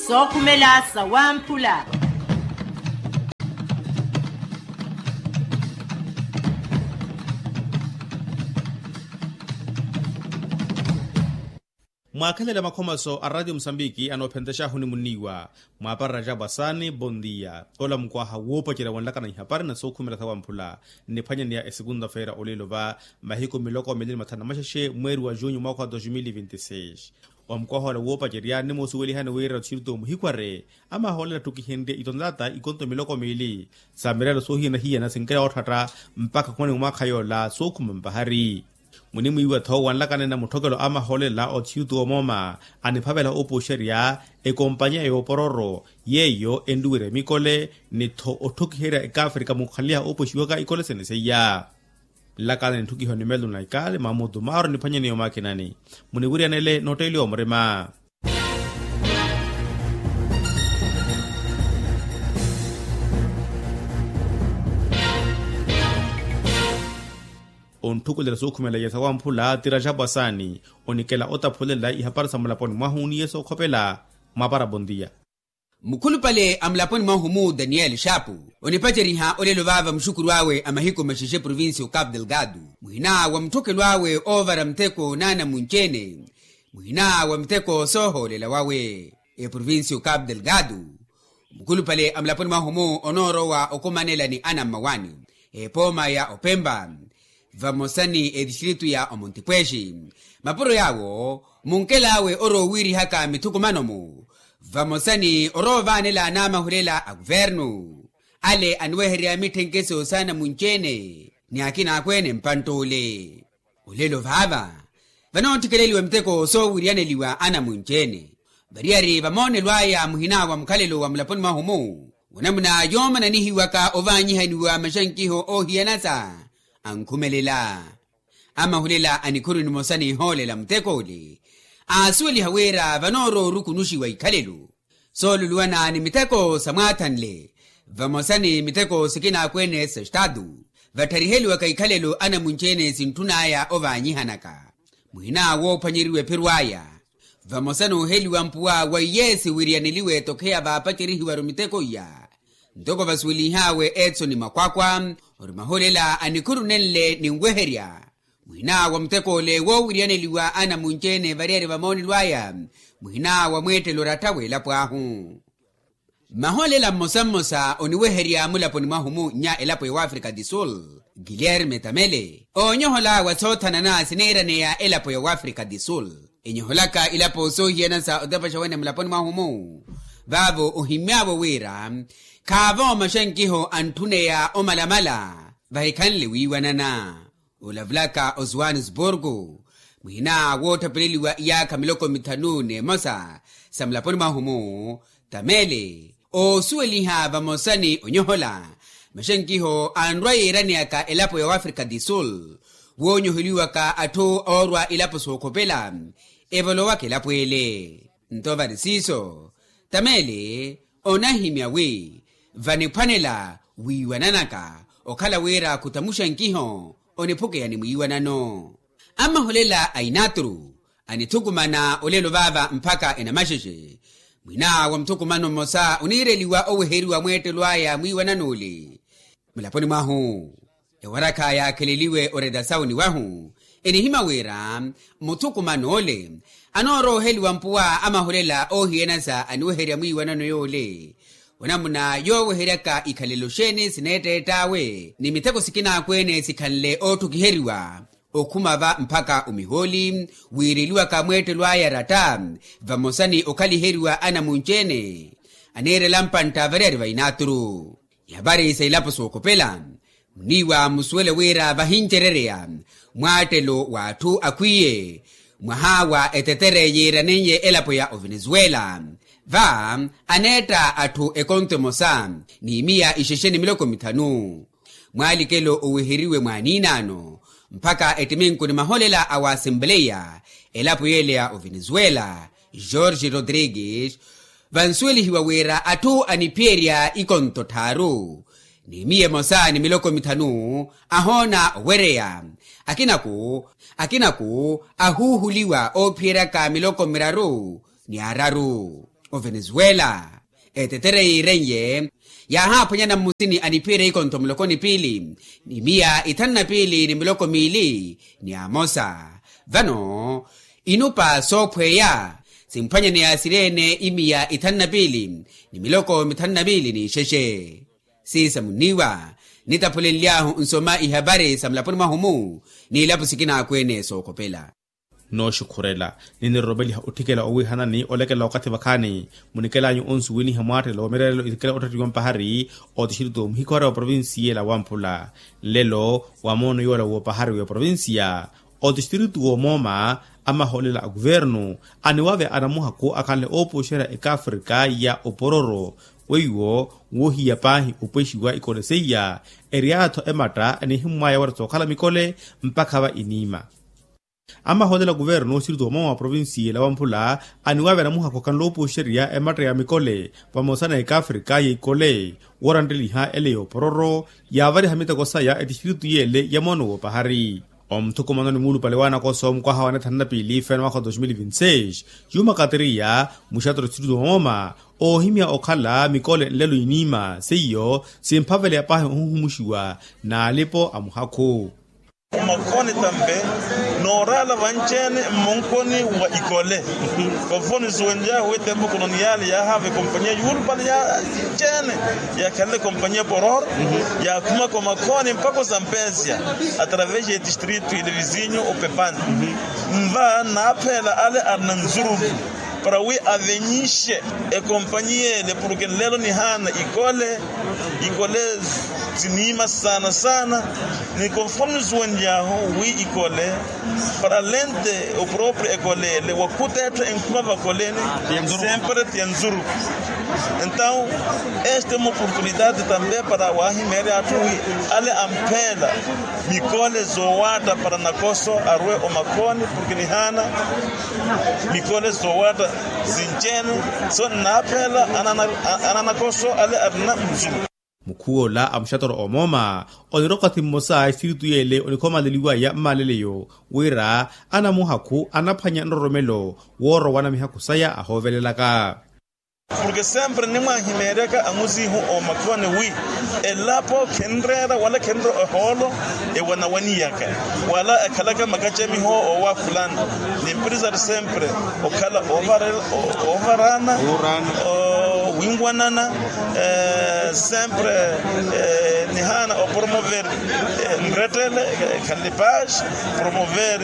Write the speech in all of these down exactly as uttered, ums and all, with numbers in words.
Sookhumela sawamphula. Mwaakhelela makhomaso a ratio musambiki anoophentexahu ni munniiwa, mwaapara rajabu asaani bondia ola mukwaha woopacerya wanlakana ihapari na sookhumela sawamphula. Nniphwanyaneya esekunda feira olelo va mahiku miloko mili ni mathanu na maxexe mweeri wa junyu mwaakha wa dos mil e vinte e seis. Wa mukwaha ola woopacerya nimosuwelihani wira othiyuto muhikware amahoolela attukihenrye itonlata ikonto miloko miili sa mirelo soohiyana-hiyana sinkela wootthatta mpakha khumani mwaakha yoola sookhuma mpahari. Munimwiiwa-tho wanlakana na mutthokelo amahoolela othiyuto omooma aniphavela opuxerya ekompanya yoopororo yeeyo enluwerya mikole ni-tho otthukiherya ekaafrika munkhanliha oopuxiwaka ikole sene seiya. Nlakana ni ntthukiho ni melo na ikale mamutu maaro niphwanyaneya omwakinani muniwiryanele nootteeliwa murima. Ontthukulela sookhumela yeesa wamphula ti rajabu asaani onikela otaphulela ihapari sa mulaponi mwahu ni yeesa okhopela. Mwaapara bondia. Mukhulupale a mulaponi mwahu-mu daniyeli xaapu onipaceriha olelo vaava muxukuru awe a mahiku maxexe provincia okapu delgado muhina wa mutthokelo awe oovara muteko n'anamunci-ene muhina wa muteko soohoolela wawe eprovincia okapu delgado. Mukhulupale a mulaponi mwahu-mu onoorowa okumanela ni anammawaani epooma ya opempa vamosa ni etistritu ya omontipwexi mapuro yaawo munkel'awe oroowiirihaka mithukumano-mu vamosa ni oroovaanela n'amahulela a kuvernu ale aniweherya mitthenkeso s'anamunci-ene ni akina akweene mpantt'ule. Olelo vaava vanoottikeleliwa miteko soowiryaneliwa anamunci-ene variyari vamoonelo aya muhina wa mukhalelo wa mulaponi mwahu-mu wanamuna yoomananihiwaka ovaanyihaniwa maxankiho oohiyanasa ankhumelela. Amahulela a nikhuru nimosa n'ihoolela mutek'ule aasuweliha wira vanoorowa orukunuxiwa ikhalelo sooluluwana ni miteko samwaathanle vamosa ni miteko sikinaakwene sa estatu vattariheliwaka ikhalelo anamunci-ene sintthun'aya ovaanyihanaka muhina woophwanyeriwa ephiru aya vamosa n'uheliwa mpuwa wa iye siwiryaneliwe tokheya vaapacerihiwaru miteko iya. Ntoko vasuwelinh'awe etsoni makwakwa ori mahulela anikhuru nenle ninweherya muhina wa muteko-ole woowiryaneliwa anamunci-ene variyari vamoonelo aya muhina wa mweettelo oratta w'elapo ahu. Maholela mmosa-mmosa oniweherya mulaponi mwahu-mu nnya elapo ya wafrika du sul guilherme tamele oonyohola wa soothanana siniiraneya elapo ya wafrika du sul enyoholaka ilapo soohiyana sa otepaxa wene mulaponi mwahu-mu vaavo ohimmy'avo wira khaavo maxankiho antthuneya omalamala vahikhanle wiiwanana. Olavulaka osuwanisburku mwina woottapeleliwa iyaakha miloko mithanu n'emosa sa mulaponi mwahu-mu tamele oosuweliha vamosa ni onyohola maxankiho anrwa yiiraneyaka elapo ya wafrika du sul woonyoheliwaka atthu oorwa ilapo sookhopela evolowaka elapo ele. Nto vari siiso tamele onahimya wi vaniphwanela wiiwananaka okhala wira khutamuxa nkiho oniphukeya ni mwiiwanano. Amaholela a inatru anithukumana olelo vaava mpakha enamaxexe mwina wa muthukumano mmosa oniireliwa oweheriwa mweettelo aya mwiiwanano ole. Mulaponi mwahu ewarakha yaakheleliwe oredasawuni wahu enihimya wira muthukumano ole anooroheliwa mpuwa amahulela oohiyanasa aniweherya mwiiwanano yoole onamuna yooweheryaka ikhalelo xeeni sineetteett'awe ni mitheko sikinaakwene sikhanle ootthukiheriwa okhuma va mpakha omihooli wiireliwaka mweettelo aya ratta vamosa ni okhaliheriwa anamunci-ene aniirela mpantta variyari va inatru. Ihapari sa ilapo sookhopela muniiwa musuwele wira vahincerereya mwaattelo w'atthu akhwiye mwaha wa etetere yiiraneiye elapo ya ovenezuela va aneetta atthu ekonto emosa n'imiya ixexe ni miloko mithanu. Mwaalikelo oweheriwe mwaaniinaano mpakha ettiminku ni maholela a waasempeleya elapo yeele ya ovenezuela george rodrigues vansuwelihiwa wira atthu aniphiyerya ikonto tthaaru n'imiya emosa ni miloko mithanu ahoona owereya akinako akinako ahuuhuliwa oophiyeryaka miloko miraru ni araru. Ovenezuela etetere yiiren'ye yaahaphwanyana mmusini aniphiyerya ikontho muloko ni piili ni miya ithanu na piili ni miloko miili ni amosa. Vano inupa soophweya simphwanyane yaasirye-ene imiya ithanu na piili ni miloko mithanu na miili n'ixexe. Siisa munniiwa nitaphulenly'ahu nsoma ihapari sa mulaponi mwahu-mu n'ilapo sikina akweene sookhopela. Nooxukhurela ni niroromeliha otthikela owiihanani olekela okathi vakhaani munikelanyu onsuwiniha mwaattelelo wa mireerelo ikela ottattiwa mpahari otistritu muhikhware wa provincia ela wamphula. Nlelo wa moono yoola w'opahari w'eprovincia otistritu w'omooma amahoolela a kuvernu aniwave anamuhakhu akhanle oopuxerya ekaafrika ya opororo weiwo woohiya paahi opwexiwa ikole seiya. Eryatho ematta enihimmwaya wira sookhala mikole mpakha va iniima. Amahoolela kuvernu otistritu w'omooma wa provincia ela wamphula aniwave anamuhakhu akhanle oopuxerya ematta ya mikole vamosa na ekaafrika ya ikole woorantteliha ele y'opororo yaavariha miteko saya etistritu yeele ya moono w'opahari. Omuthukumano ni muulupale w'anakoso mukwaha wa nithanu na piili feeno mwakha wa dos mil vinti seis, juma kateriya muxattoro tistritu w'omooma oohimya okhala mikole nlelo iniima seiyo simphaveleya paahi ohuhumuxiwa n'alipo a muhakhu. Omakhoni tampe nooraala vanci-ene mmonkoni wa ikole. Vavo nisuwenlyahu wi tempo koloniyali yaahaava ekompanyia yuulupale ya nci-ene yaakhanle ekompanyia poror yaakhumaka omakhoni mpakha osampesya atravesi ya etistritu ile vizinyu opepani. Mva naaphela ale arina nzuruku para wi avenyixe ekompanyia ele porke nlelo nihaana ikole ikole siniima saana saana. Ni konforme nisuwenlyahu wi ikole para lente oproprio ekole ele wakhuta etthu enkhuma vakoleni sempre ti ya nzuruku. Entaw este uma oportunidade tampe para wahimeerya atthu wi ale ampheela mikole zoowaatta para nakoso arwe omakhoni porke nihaana mikole zoowaatta sinci-ene so nnaaphela ananakoso ale arina nzuruku. Mukhuwola a muxattoro omooma onira okathi mmosa a istritu yeele onikhomaleliwaya mmaaleleyo wira anamuhakhu anaphwanya nroromelo woorowana mihakhu saya ahoovelelaka. Porke sempre nimwahimeeryaka amuzihu omakhoni wi elapo khenreera wala khenreera ehoolo ewanawaniyaka wala ekhalaka makacamiho oowakhulana. Nimprisari sempre okhala oovarana winwanana. Sempre nihaana opromover nrettele ekhanle paz promover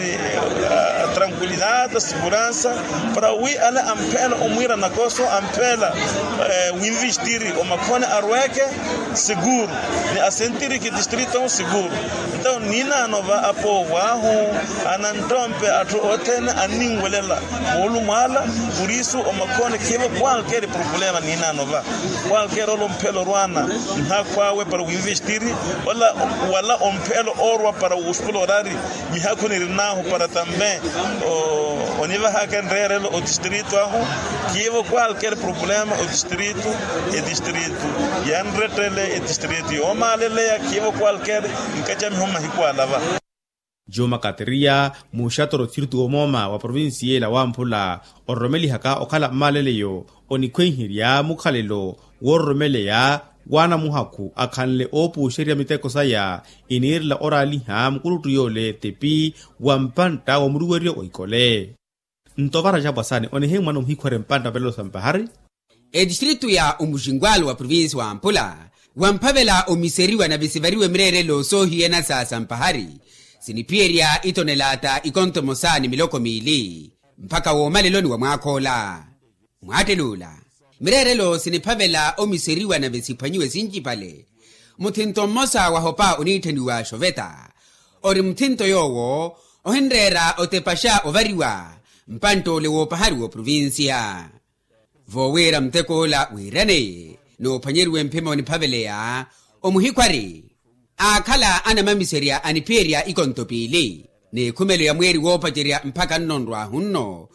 tranquilidade seguransa para wi ale ampheela omwiira nakoso ampheela winvistiri omakhoni arweke seguru ni asentiriki distrito seguru. Entaw ninaano va apoow'ahu ananttompe atthu othene anninwelela moolumwaala. Purisu omakhoni khiivo kwalkeri problema ninaano va kwalkeri ole omphela orwana nhakhu awe para winvistiri wala omphela orwa para wuxpula orari mihakhu nirinahu para tambe onivahaka enreerelo otistrito ahu. Khiivo kwalkeri problema otistrito etistrito yanrettele etistrito yoomaaleleya khiivo kwalkeri nkacamiho mahiku ala va. Juma kateriya muxatoro txiriti womooma wa provincia ela wamphula ororomelihaka okhala mmaaleleyo onikhwenherya mukhalelo woororomeleya w'anamuhakhu akhanle oopuuxerya miteko saya iniirela oraaliha mukuluttu yoole tepi wa mpantta wa muruweryo wa ikole. Nto vara jaapwasani onihimmwana omuhikhwere mpantta velelo sa mpahari. Etistritu ya omuxinkwalo wa provincia wa mpula wamphavela omiseriwa na visivariwe mireerelo soohiyana sa sampahari siniphiyerya itonelata ikonto emosa ni miloko miili mpakha woomaleloni wa mwaakha ola. Mwaattel'ula mireerelo siniphavela omiseriwa nave siphwanyiwe sincipale. Muthinto mmosa wahopa oniitthaniwa xoveta ori muthinto yoowo ohinreera otepaxa ovariwa mpantt'ole woopahari w'oprovincia. Voowira mutek'ola wiiraneye n'uphwanyeriwe mphimo niphaveleya omuhikhwari aakhala anamamiserya aniphiyerya ikonto piili n'ikhumelo ya mweeri woopacerya mpakha nno nrwaahu nno.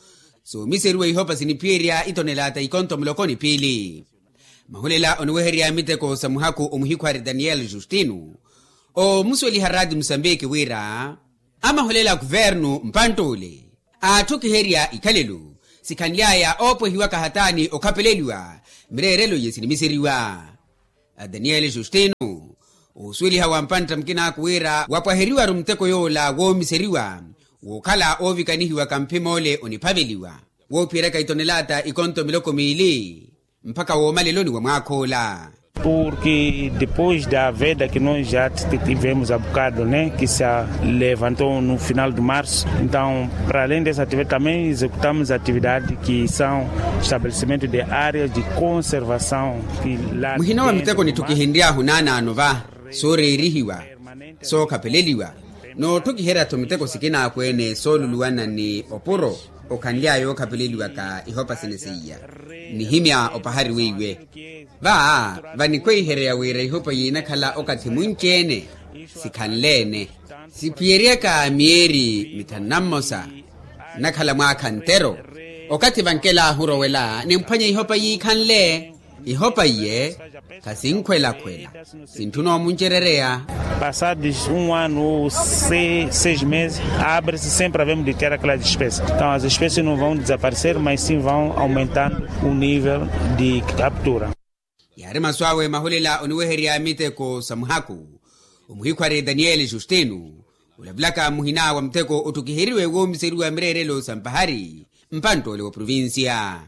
Soomiseriwa ihopa siniphiyerya itonelata ikonto muloko ni piili. Mahulela oniweherya miteko sa muhakhu omuhikhwari daniel justino oomusuweliha raati musambiki wira amahulela a kuvernu mpantt'ule aatthukiherya ikhalelo Sikhanly'aya oopwehiwaka hataani okhapeleliwa mireerelo iye sinimiseriwa. Daniel justino, osuweliha wa mpantta mukinaaku wira wapwaheriwa-ru muteko yoola woomiseriwa wookhala oovikanihiwaka mphim'ole oniphaveliwa, woophiyeryaka itonelaata ikonto miloko miili mpakha woomaleloni wa mwaakh'ola. Porke depois da veda ki nos ja tivemos a bocado ne ki se levantou no final de marso, entaw para além dessa atividade também executamos atividade ki são estabelecimentos de áreas de conservação. Muhina wa miteko nitthu kihinry'ahu naanaano va sooreerihiwa, sookhapeleliwa, nootthukiherya-tho miteko sikinaaku-ene sooluluwana ni opuro okhanly'aya ookhapeleliwaka ihopa sina seiya. Nihimya opahari weiwe va, vanikhweihereya wira ihopa yiinakhala okathi munci-ene sikhanle-ene, siphiyeryaka myeeri mithanu na mmosa nnakhala mwaakha ntero. Okathi vankel'ahu orowela nimphwanya ihopa yiikhanle. Ihopa iye khasinkhwelakhwela, sintthuna omuncerereya. Passados um ano ou seis meses abre-se sempre havemos de ter aquelas espécies, entaw as espécies não vão desaparecer mas sim vão aumentando o nível de captura. Yaari masu awe mahulela oniweherya miteko sa muhaku. Omuhikhwari daniel justino olavulaka mmuhina wa muteko otthukiheriwe woomiseriwa mireerelo sa mpahari mpantt'ole wa provincia.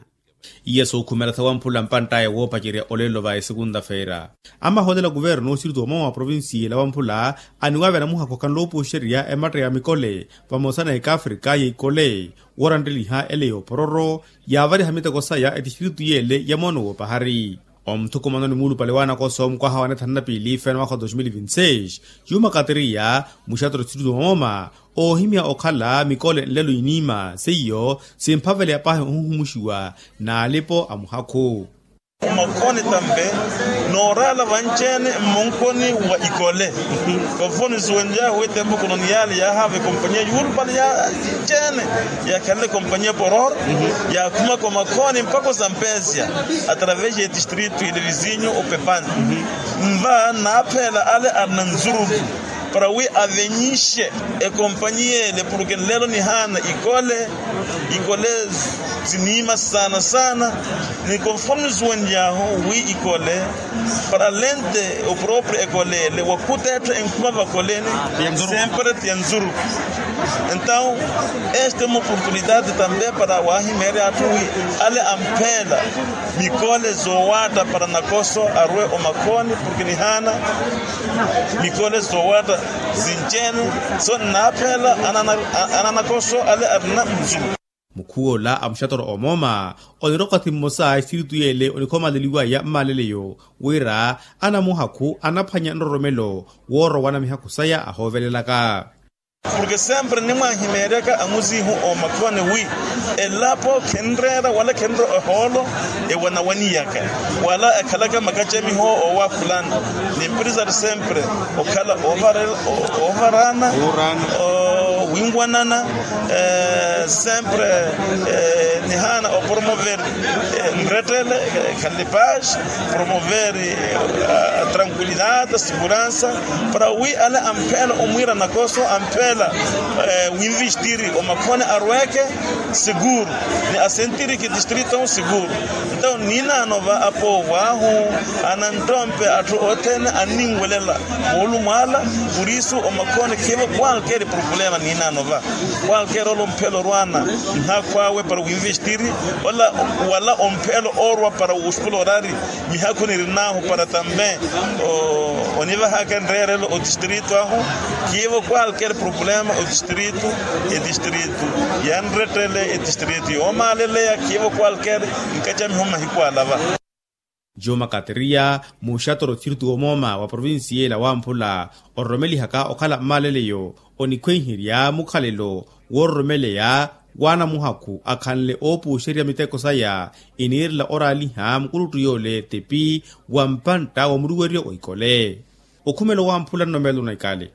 Iye sookhumela sawamphula mpantt'aya woopacerya olelo va esekunta-feira. Amaholela kuvernu osiritu omwe wa provincia ela wamphula aniwaavya namuhakhu akhanle opooxerya ematta ya mikole vamosa na ekaafrika ya ikole woorantteliha ele y'opororo yaavariha miteko saya etistiritu y'ele ya moono w'opahari. Omuthukumano ni muulupale w'anakoso mukwaha wa nethanu na piili feena mwakha wa dos mil vinti seis, yuuma kateriya muxatoro tistiritu omoma oohimya okhala mikole nlelo iniima seiyo simphaveleya paahi ohuhumuxiwa n'alipo a muhakhu. Omakhoni tampe nooraala vanci-ene mmonkoni wa ikole. Vafoni suwenly'ahu etempo koloniyali yaahaava ekompanyiya yuulupale ya vanci-ene yaakhalele ekompanyiya pororo yaakhumaka omakhoni mpakha osampesya atravesi ya etistritu ile vizinyu opepani. Mva naaphela ale arina nzuruku para wi avenyixe ekompanyiya ele porke nlelo nihaana ikole ikole siniima saana saana. Ni konforme suwenly'ahu wi ikole para lente oproprio ekole ele wakhuta etthu enkhuma vakoleni sempre tiya nzuruku. Entaw este uma oportunidade tampe para waahimeerya atthu wi ale ampheela mikole zoowaatta para nakoso arwe omakhoni porke nihaana mikole zoowaatta sinci-ene. So nnaaphela ananakoso ale arina muzulu. Mukhuw'ola a muxatoro omooma onirokwathi mmosa a espiritu y'ele onikhomaleliwaya mmaleleyo wira anamuhakhu anaphwanya nroromelo woorowana mihakhu saya ahoovelelaka. Porke sempre nimwahimeeryaka amuzihu omakhwani wi elapo khenreera wala khenre ohoolo ewanawaniyaka wala ekhalaka makacamiho owakhulana. Nimpiri sari sempre okhala ovarana winwanana sempre nihaana opromover nrettele khalipaz promover tranquilidade seguransa para wi ale ampheela omwiira nakoso ampheela winvistiri omakhone arweke seguru ni asentiri ki distrito seguru. Entaw ninaano va apoow'ahu ananttompe atthu othene anninwelela moolumwaala. Purisu omakhone khiivo kwalkeri problema ninaano va kwalkeri ole omphela orwana nhakhw'awe para winvestiri wala omphela orwa para wuxpula orari. Mihakhu nirin'ahu para tambe onivahaka nreerelo otistrito ahu khiivo kwalkeri problema otistrito etistrito yanrettele etistrito yoomaaleleya khiivo kwalkeri nkacamiho mahiku ala va. Juma kateriya muxatoro tistiritu womooma wa provincia ela wamphula ororomelihaka okhala mmaaleleyo onikhwenherya mukhalelo woororomeleya w'anamuhakhu akhanle oopuuxerya miteko saya iniirela oraaliha mukuluttu yoole tepi wa mpantta wa muruweryo wa ikole. Okhumelo wamphula nnomelo na ikale.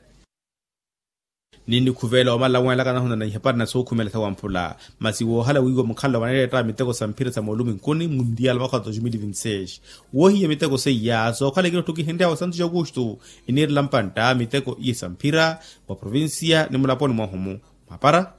Ninnikhuvela omala wenlaka nahuna na ihapari na sookhumela sawamphula masi woohala wiiwa mukhalelo vanereetta miteko sa mphira sa mooluminkuni mundial mwakha wa dos mil vinti seis. Woohiya miteko seiya sookhala ikinottho kihenryawe santos augusto iniirela mpantta miteko iye sa mphira mwa provincia ni mulaponi mwahumu mapara.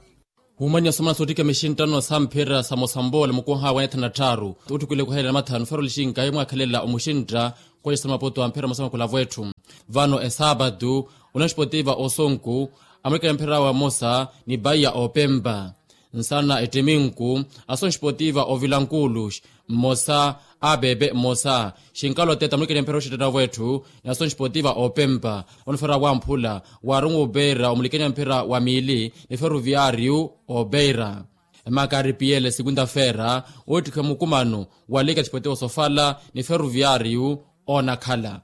Wumanyiha somana soottikha mixinttano samphira sa mosambola mukuha wa neethana tthaaru. Utthukwile kuhelela mathanu feroli xinkayi mwaakhelela omuxintta. Kwexa sa mapoto amphira mosamakula vwetthu. Vano esaapatu, onexpotiva osonku, amulikela mphira wa mosa ni paiya opempa. Nsana ettiminku, asonxpotiva ovilankulux, mmosa, apepe mmosa. Xinkalo teta amulikela mphira oxittettavo etthu ni asonxpotiva opempa. Onifera wamphula, waarumu opeira omulikela mphira wa miili ni feruviyariyu. Opeira, emakari piyele sikunta fera, oottikha mukumano wa lika expotiva osofala ni feruviyariyu. Onakhala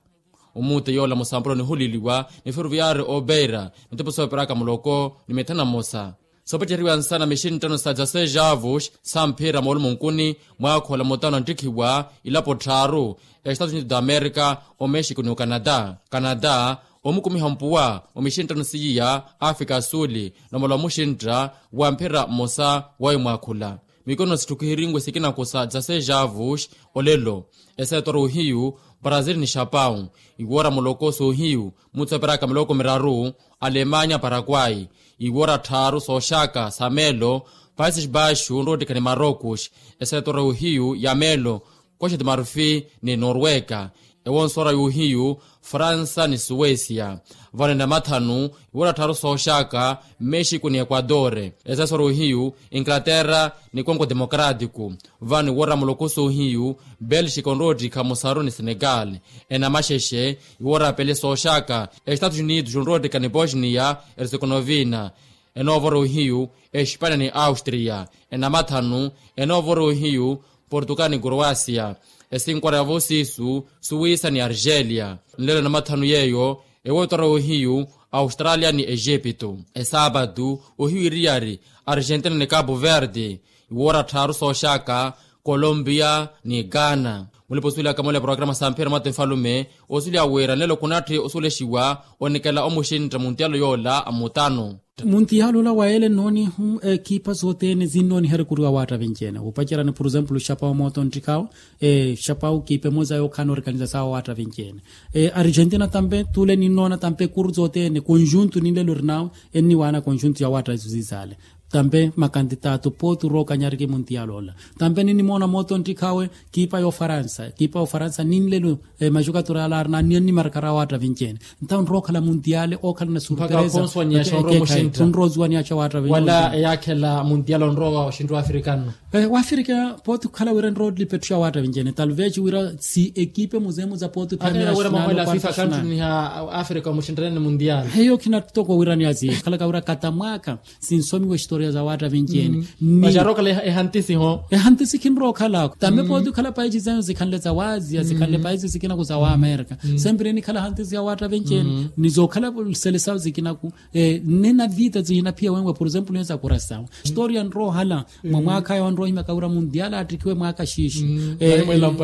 omuute yoola musampuro nihuliliwa ni feruviyari opeira, mitepo sooperaka muloko ni mithana mmosa. Soopaceriwa nsana mixinttano sa dzaseis avos samphira moolumunkuni, mwaakhola mutano anttikhiwa ilapo tthaaru, estados unidos da america, omexico ni ocanada. Canada, omukumiha mpuwa wa mixinttano siiya, africa asuli, nomala omuxintta wa mphira mmosa. Wawe mwaakhula mikono sitthukihirinwe sikinaku sa dzaseis avos. Olelo, eseetoro ohiyu, brazil ni xapau, iwoora muloko soohiyu, mutsooperaka miloko miraru, alemanya paraguay, iwoora tthaaru sooxaka sa meelo, países baixos onroottikha ni marocos. Eseetoro ohiyu ya meelo, coxa de marfi ni norwega. Ewonsoora yohiyu, fransa ni suwesia. Vano enamathanu, iwoora tthaaru sooxaka, mexico ni equador. Eseetoro ohiyu, inglaterra ni congo democrático. Vano iwoora muloko soohiyu, belgica onroottikha musaru ni senegal. Enamaxexe, iwoora pele sooxaka, estados unidos onroottikha ni bosnia, herzegovina. Enoovora ohiyu, espania ni austria. Enamathanu, enoovora ohiyu, portugal ni croasia. Esinkora ya vosisu, suwisa ni argelia. Nlelo enamathanu yeeyo, ewoottora ohiyu, australia ni egipto. Esaapatu, ohiyu iriyari, argentina ni capo verde. Iwoora tthaaru sooxaka, colombia ni ghana. Mulipa osuwelaka mola ya programa samphira mwatte nfalume, osuwelya wira nlelo khunatthi osuwelexiwa, onikela omuxintta muntiyalo yoola a mutano. Muntiyalo ola wa ele nnoonihu ekipa sothene sinnooniha rikuriwa waatta vinci-ene wupacerani por example xapau mooto nttikhawo. Xapau kipa emosa yookhala noorikaniza sawa waatta vinci-ene. Argentina tampe tule ninnoona tampe kuru sothene conjunto ninlelo orinawe, enniwaana conjunto ya waatta isu sisaale. Tampe makantitato pooti orookanyariki muntiyalo ola. Tampe ninnimoona mooto nttikhawe, kipa y'ofaransa kipa y'ofaransa ninlelo. Maxukatura ala arina anniya nnimarakara awaatta vinci-ene. Ntawo nrowa okhala muntiyale ookhala na surpresa. Khunrowa osuwaniyaxa wala eyaakhela muntiyale onrowa oxintta wafrika nno. Wafrika pooti khukhala wira nrowa olipettuxa awaatta vinci-ene talvez wira si ekipe muzemuza pooti. Wira mwakhwela fifa kanttuniha afrika omuxinttanene muntiyale. Eyo khina toko wira niya si khalaka wira katamwaka. Sinsomiwa exitoria za waatta vinci-ene. Ni maxa arookhala ehantisi ho. Ehantisi khinrowa okhalako tambe pooti okhala paisi zayo zikhanle za waaziya zikhanle paisi sikinaku za waamerika. Sempre enikhala hantisi ya waatta vinci-ene. Ni zookhala selesawo zikinaku. Nne na vita zihinaphiya wenwe por example niyo za kurasawo exitoria nrowa ohala. Mwa mwaakha ayo anrowa ohimyaka wira mundial aattikhiwe mwaaka xiixi.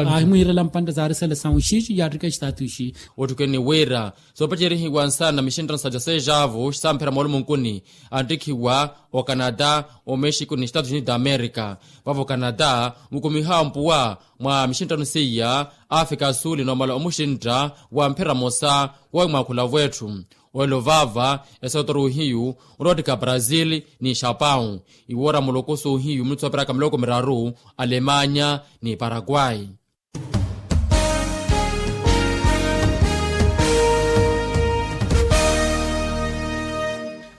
Ahimwiirela mpantta zaari selesawo xiixi yaattikha exitatu ixi. Ottukeni wira soopacerihiwa nsana mixinttano sa dyaseis avos samphira moolumunkuni, anttikhiwa ocanada, omexico ni estados unidos da america. Vavo ocanada mukumiha mpuwa mwa mixinttano seiya, afrika asuli noomala omuxintta wa mphira mosa. Wowe mwaakhula vwetthu. Olelo vaava esootoro ohiyu, oloottika brazil ni xapau. Iwoora muloko soohiyu minutu sooperaka miloko miraru, alemanya ni paraguay.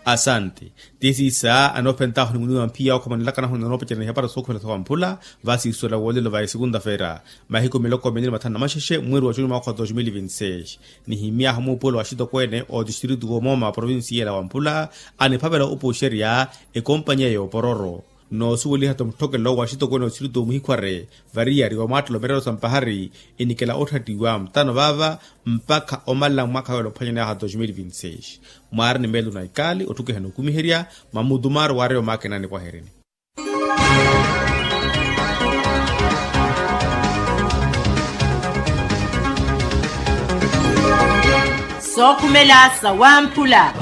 Asante. Ti siisa anoophentaahu ni muniwa mphiya okhomanelakanahu ni anoopacerya ni ihapari sookhumela sa wamphula. Vasiisuwela woolelo va esikunda-feera mahiku miloko minne ni mathanu na maxexe mweeri wa juni mwaakha wa dos mil vinti seis. Nihimyaahu muupuwelo wa axitokweene otistritu woomooma wa provincia ela wamphula, aniphavela opuxerya ekompanyiya y'opororo. Noosuweliha-tho mutthokelo wa axitokweene otistritu muhikhware variyari wa mwaattelo meerero sa mpahari, enikela otthattiwa mutano vaava mpakha omalela mwaakha weela ophwanyaneyaahu wa dos mil vinti seis. Mwaari ni meelo na ikaali otthukiha n'okumiherya mwa mutumaaru waareya omwaakina anipwaheryeni. Sookhumela sa wamphula.